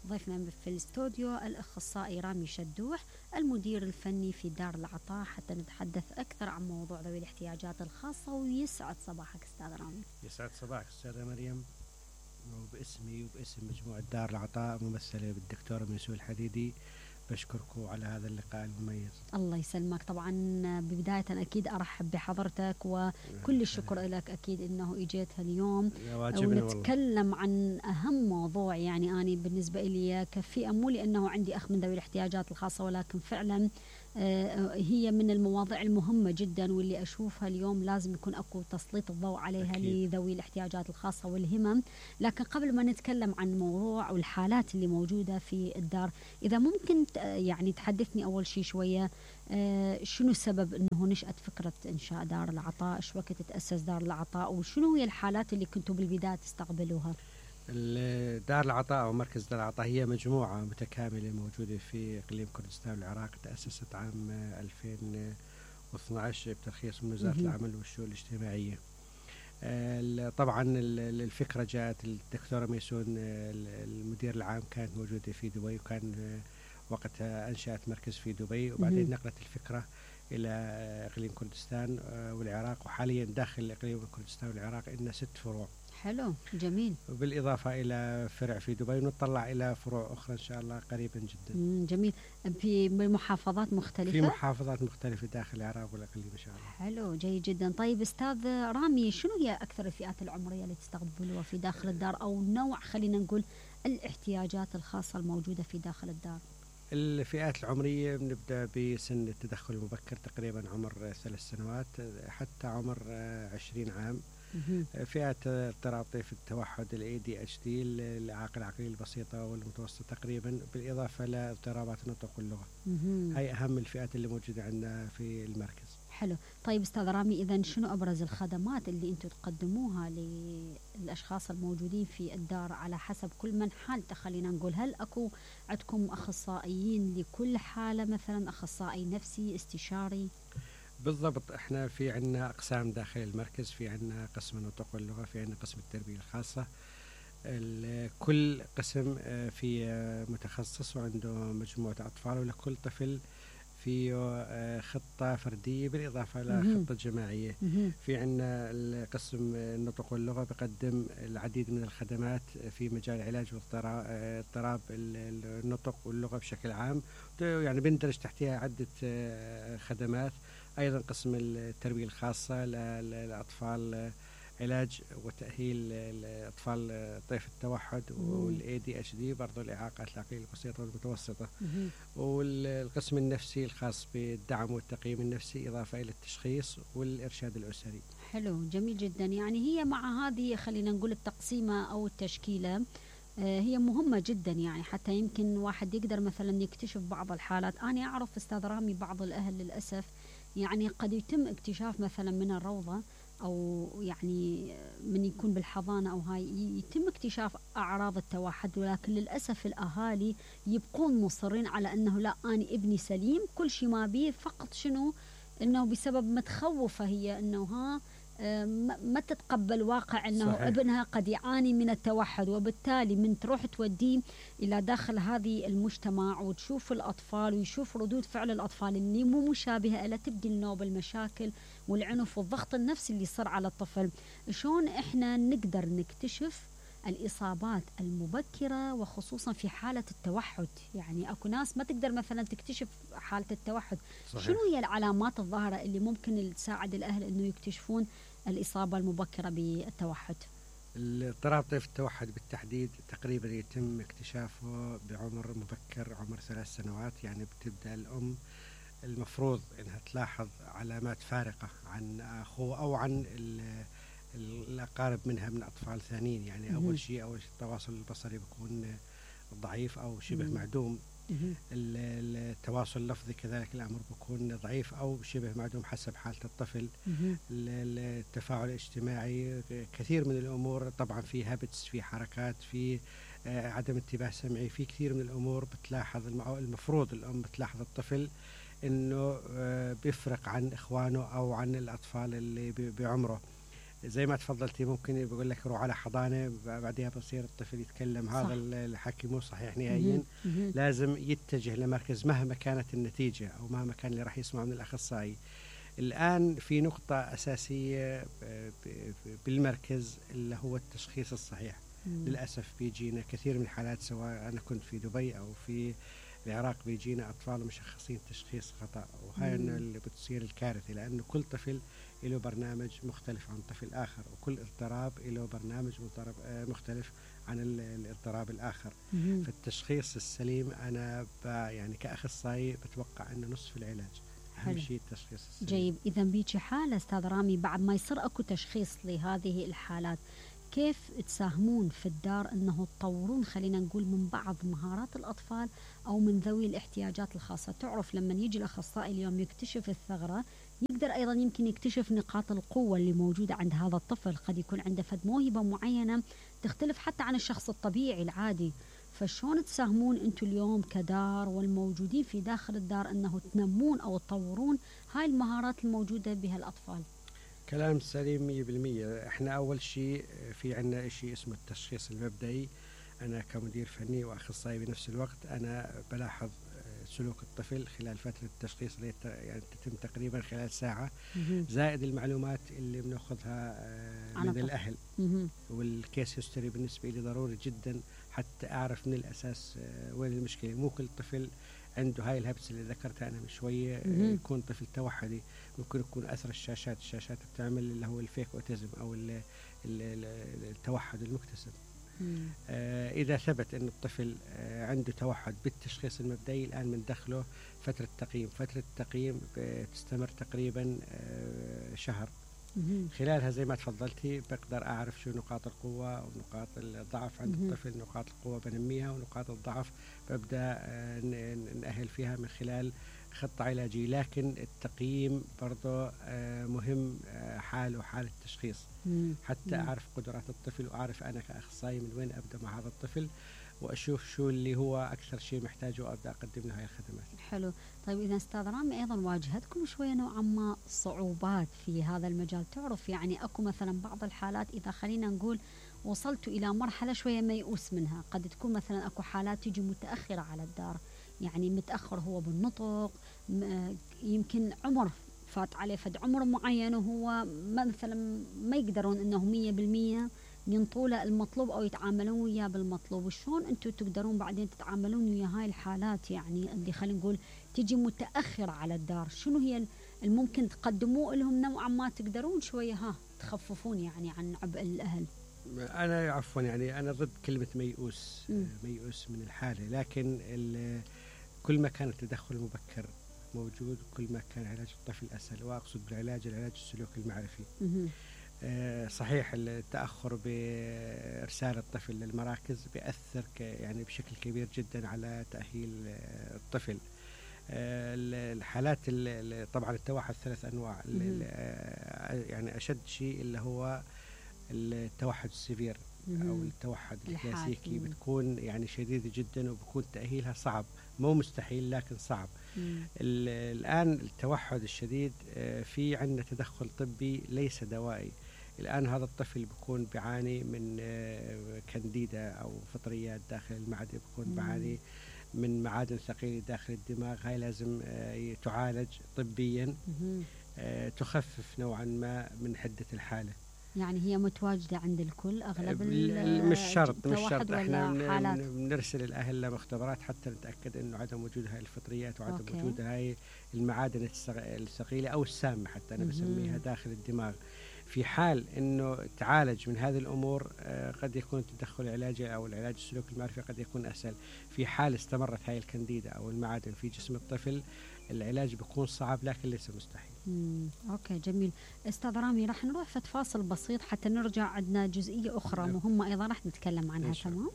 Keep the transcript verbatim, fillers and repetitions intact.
ضيفنا في الاستوديو الأخصائي رامي شدوح المدير الفني في دار العطاء، حتى نتحدث أكثر عن موضوع ذوي الاحتياجات الخاصة. ويسعد صباحك أستاذ رامي. يسعد صباحك أستاذة مريم، وباسمي وباسم مجموعة دار العطاء ممثلة بالدكتور ميسو الحديدي بشكركم على هذا اللقاء المميز. الله يسلمك. طبعا ببداية أكيد أرحب بحضرتك وكل الشكر لك أكيد إنه إجيت اليوم ونتكلم عن أهم موضوع. يعني أنا بالنسبة لي كفئة، مو لأنه عندي أخ من ذوي الاحتياجات الخاصة، ولكن فعلا هي من المواضيع المهمة جدا، واللي أشوفها اليوم لازم يكون أكو تسليط الضوء عليها أكيد. لذوي الاحتياجات الخاصة والهمم. لكن قبل ما نتكلم عن الموضوع والحالات اللي موجودة في الدار، إذا ممكن يعني تحدثني أول شيء شوية شنو السبب أنه نشأت فكرة إنشاء دار العطاء؟ إيش وقت تأسس دار العطاء؟ وشنو هي الحالات اللي كنتوا بالبداية تستقبلوها؟ دار العطاء أو مركز دار العطاء هي مجموعة متكاملة موجودة في إقليم كردستان والعراق. تأسست عام ألفين واثني عشر بترخيص من وزارة العمل والشؤون الاجتماعية. طبعا الفكرة جاءت الدكتورة ميسون المدير العام كانت موجودة في دبي، وكان وقتها أنشأت مركز في دبي، وبعدين نقلت الفكرة إلى إقليم كردستان والعراق، وحاليا داخل إقليم كردستان والعراق إن ست فروع. حلو جميل. بالإضافة إلى فرع في دبي، ونطلع إلى فروع أخرى إن شاء الله قريبا جدا. جميل. في محافظات مختلفة؟ في محافظات مختلفة داخل العراق والإقليم إن شاء الله. حلو جيد جدا. طيب أستاذ رامي، شنو هي أكثر الفئات العمرية اللي تستقبلوها في داخل الدار، أو نوع خلينا نقول الاحتياجات الخاصة الموجودة في داخل الدار؟ الفئات العمرية بنبدأ بسن التدخل المبكر، تقريبا عمر ثلاث سنوات حتى عمر عشرين عام. فئات اضطراب طيف التوحد، الاي دي اتش دي، الاعاقه العقليه البسيطه والمتوسطه تقريبا، بالاضافه لاضطرابات النطق واللغه. هاي اهم الفئات اللي موجوده عندنا في المركز. حلو. طيب استاذ رامي، اذا شنو ابرز الخدمات اللي انتم تقدموها للاشخاص الموجودين في الدار على حسب كل من حالته؟ خلينا نقول، هل اكو عندكم اخصائيين لكل حاله، مثلا اخصائي نفسي، استشاري؟ بالضبط، احنا في عندنا اقسام داخل المركز، في عندنا قسم النطق واللغه، في عندنا قسم التربيه الخاصه. كل قسم في متخصص وعنده مجموعه اطفال، ولكل طفل فيه خطه فرديه بالاضافه لخطه جماعيه. في عندنا القسم النطق واللغه بقدم العديد من الخدمات في مجال علاج اضطراب النطق واللغه بشكل عام، يعني بندرج تحتها عده خدمات. أيضا قسم التربية الخاصة للأطفال، علاج وتأهيل الأطفال طيف التوحد والإي دي إتش دي، برضو الإعاقات العقلية البسيطة والمتوسطة. والقسم النفسي الخاص بالدعم والتقييم النفسي، إضافة إلى التشخيص والإرشاد الأسري. حلو جميل جدا. يعني هي مع هذه خلينا نقول التقسيمة أو التشكيلة هي مهمة جدا، يعني حتى يمكن واحد يقدر مثلا يكتشف بعض الحالات. أنا أعرف أستاذ رامي بعض الأهل للأسف يعني قد يتم اكتشاف مثلا من الروضة، أو يعني من يكون بالحضانة أو هاي يتم اكتشاف أعراض التوحد، ولكن للأسف الأهالي يبقون مصرين على أنه لا، أنا ابني سليم كل شيء ما بيه، فقط شنو أنه بسبب متخوفة هي أنه ها ما تتقبل واقع أنه صحيح. ابنها قد يعاني من التوحد، وبالتالي من تروح توديه إلى داخل هذه المجتمع وتشوف الأطفال ويشوف ردود فعل الأطفال اللي مو مشابهة إلى، تبدي النوبة المشاكل والعنف والضغط النفسي اللي يصير على الطفل. شلون إحنا نقدر نكتشف الإصابات المبكرة وخصوصا في حالة التوحد؟ يعني أكو ناس ما تقدر مثلا تكتشف حالة التوحد. صحيح. شنو هي العلامات الظاهرة اللي ممكن تساعد الأهل أنه يكتشفون الإصابة المبكرة بالتوحد؟ الاضطراب طيف التوحد بالتحديد تقريبا يتم اكتشافه بعمر مبكر، عمر ثلاث سنوات. يعني بتبدأ الأم المفروض أنها تلاحظ علامات فارقة عن أخوه أو عن الأقارب منها من أطفال ثانيين. يعني أول شيء أول شيء التواصل البصري بيكون ضعيف أو شبه مم. معدوم. التواصل اللفظي كذلك الأمر بيكون ضعيف أو شبه معدوم حسب حالة الطفل. التفاعل الاجتماعي، كثير من الأمور طبعا، في هابتس، في حركات، في عدم انتباه سمعي، في كثير من الأمور بتلاحظ. المفروض الأم بتلاحظ الطفل إنه بيفرق عن إخوانه أو عن الأطفال اللي بعمره. زي ما تفضلتي ممكن بقول لك روح على حضانة بعدها بصير الطفل يتكلم، صح. هذا الحكي مو صحيح نهائيا. مهم. لازم يتجه لمركز مهما كانت النتيجة أو مهما كان اللي راح يسمع من الأخصائي. الآن في نقطة أساسية بالمركز اللي هو التشخيص الصحيح. مم. للأسف بيجينا كثير من الحالات، سواء أنا كنت في دبي أو في العراق، بيجينا أطفال مشخصين تشخيص خطأ، وهاي مم. اللي بتصير الكارثة، لأنه كل طفل له برنامج مختلف عن طفل آخر، وكل اضطراب له برنامج مختلف عن الاضطراب الآخر. مهم. فالتشخيص السليم أنا يعني كأخصائي بتوقع أنه نصف العلاج. أهم حلو. شيء التشخيص السليم. جيد. إذا بيجي حالة أستاذ رامي بعد ما يصير أكو تشخيص لهذه الحالات، كيف تساهمون في الدار أنه تطورون خلينا نقول من بعض مهارات الأطفال أو من ذوي الاحتياجات الخاصة؟ تعرف لما يجي الأخصائي اليوم يكتشف الثغرة، يقدر أيضا يمكن يكتشف نقاط القوة اللي موجودة عند هذا الطفل. قد يكون عنده فد موهبة معينة تختلف حتى عن الشخص الطبيعي العادي. فشون تساهمون أنتم اليوم كدار والموجودين في داخل الدار أنه تنمون أو تطورون هاي المهارات الموجودة بها الأطفال؟ كلام سليم مية بالمية. احنا أول شيء في عنا شيء اسمه التشخيص المبدئي. أنا كمدير فني وأخصائي بنفس الوقت أنا بلاحظ سلوك الطفل خلال فترة التشخيص اللي يعني تتم تقريبا خلال ساعة، زائد المعلومات اللي بناخذها من الأهل. والكيس هيستوري بالنسبة لي ضروري جدا حتى أعرف من الأساس وين المشكلة. مو كل طفل عنده هاي الهبس اللي ذكرتها أنا من شوية يكون طفل توحدي، ممكن يكون أثر الشاشات. الشاشات بتعمل اللي هو الفيك أوتيزم أو ال ال التوحد المكتسب. آه إذا ثبت أن الطفل آه عنده توحد بالتشخيص المبدئي، الآن بندخله فترة تقييم. فترة التقييم بتستمر تقريبا آه شهر. خلالها زي ما تفضلتي بقدر أعرف شو نقاط القوة ونقاط الضعف عند الطفل. نقاط القوة بنميها ونقاط الضعف ببدأ آه نأهل فيها من خلال خطة علاجية. لكن التقييم برضو آه مهم، آه حال وحال التشخيص، حتى أعرف قدرات الطفل وأعرف أنا كأخصائي من وين أبدأ مع هذا الطفل، وأشوف شو اللي هو أكثر شيء محتاجه وأبدأ أقدم له هاي الخدمات. حلو. طيب إذا أستاذ رامي أيضا واجهتكم شوية نوعا ما صعوبات في هذا المجال؟ تعرف يعني أكو مثلا بعض الحالات إذا خلينا نقول وصلتوا إلى مرحلة شوية ميؤوس منها، قد تكون مثلا أكو حالات تيجي متأخرة على الدار، يعني متأخر هو بالنطق، يمكن عمر فات عليه فد عمر معين وهو مثلا ما يقدرون انه مية بالمية ينطوا له المطلوب او يتعاملون وياه بالمطلوب. وشون انتم تقدرون بعدين تتعاملون ويا هاي الحالات يعني اللي خلينا نقول تجي متأخرة على الدار؟ شنو هي الممكن تقدموه لهم نوعا ما تقدرون شوية ها تخففون يعني عن عبء الأهل؟ أنا عفوا يعني أنا ضد كلمة ميؤوس. م. ميؤوس من الحالة، لكن كل ما كان التدخل المبكر موجود كل ما كان علاج الطفل أسهل. وأقصد بالعلاج العلاج السلوكي المعرفي. آه صحيح التأخر بإرسال الطفل للمراكز بيأثر يعني بشكل كبير جدا على تأهيل الطفل. آه الحالات طبعا التوحد ثلاث أنواع. يعني أشد شيء اللي هو التوحد السيفير أو التوحد الكلاسيكي، بتكون يعني شديدة جدا وبكون تأهيلها صعب، مو مستحيل لكن صعب. الآن التوحد الشديد في عندنا تدخل طبي ليس دوائي. الآن هذا الطفل بيكون بيعاني من كانديدا أو فطريات داخل المعدة، بيكون بيعاني من معادن ثقيلة داخل الدماغ. هاي لازم تعالج طبيا تخفف نوعا ما من حدة الحالة. يعني هي متواجدة عند الكل أغلب مش شرط مش شرط احنا بنرسل الأهل لمختبرات حتى نتأكد إنه عدم وجود هاي الفطريات وعدم أوكي. وجود هاي المعادن الثقيلة أو السامة حتى أنا بسميها داخل الدماغ. في حال إنه تعالج من هذه الأمور قد يكون التدخل العلاجي أو العلاج السلوكي المعرفي قد يكون أسهل. في حال استمرت هاي الكانديدا أو المعادن في جسم الطفل العلاج بيكون صعب لكن ليس مستحيل. مم. أوكي جميل. أستاذ رامي راح نروح في فاصل بسيط حتى نرجع، عندنا جزئية أخرى مهمة أيضا راح نتكلم عنها. تمام.